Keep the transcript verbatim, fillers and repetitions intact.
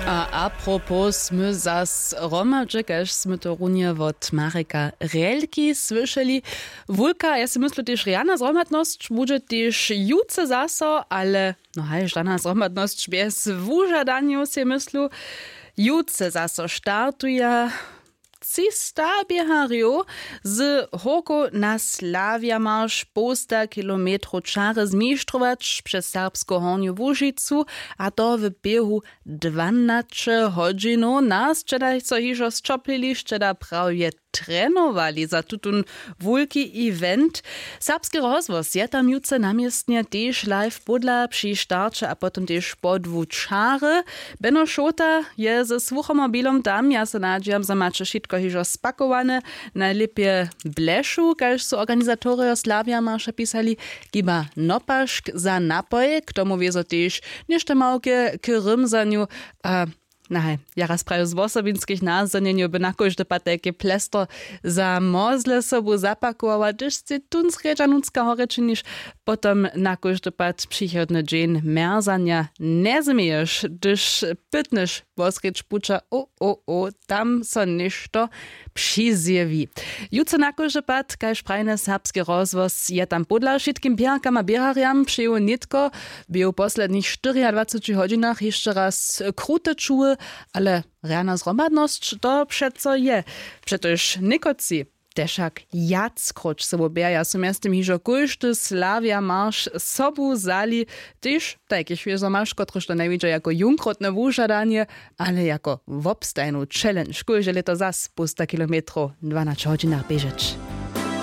A apropos smy zas hromadźe kaž smy to runje wot mareka relki słyšeli. Wulka ja sej myslu tež rjana zhromadnosć budźe tež jutře zaso ale no haj žana zhromadnosć bjez wužadanjow sej myslu. Jutře zaso startuja třista běharjow z hórkow na slawjamarš połsta kilometrow čary zmištrować přez serbsku hornju łužicu, a to w běhu dwanaće hodźinow nas sćeda so hižo sćoplili sćeda prawje trenowali za tutón wulki event. Serbski rozhłos je tam jutře na městnje tež live pódla při starće a potom tež po dwu čary. Beno šołta je ze słuchomobilom tam ja so nadźijam zo maće wšitko hižo spakowane. Najlěpje blešu kaž su organizatorjo slawja marša pisali, hiba nopašk za napoj k tomu wězo tež něšto małke k rymzanju. A nahaj ja raz prajił z wosobinskich nazdanjenjow by na kóždy pad tajke plestro za mozle sobu zapakowała hdyž sej tón srjedźa nutřka horje činiš, potom na kóždy pad přichodny dźeń mjerzanja njezměješ hdyž pytnyš wosrjedź puća o o o tam so něšto přizjewi. Jutře na kóždy pad kaž prajny serbski rozhłos je tam pódla wšitkim běharkam a běharjam přeju nětko bě w poslednich štyriadwaceći hodźinach hišće raz krute čuły. Ale rjana zhromadnosć to přeco je. Přetož někotři tež wšak wjackróć sobu běhaja su mjeztym hižo kóždy slawja marš sobu wzali, tež tajkich wězo maš kotryž to njewidźa jako jónkrotne wužadanje ale jako wobstajnu challenge kóžde lěto zas półsta kilometrow w dwanaće hodźinach běžeć.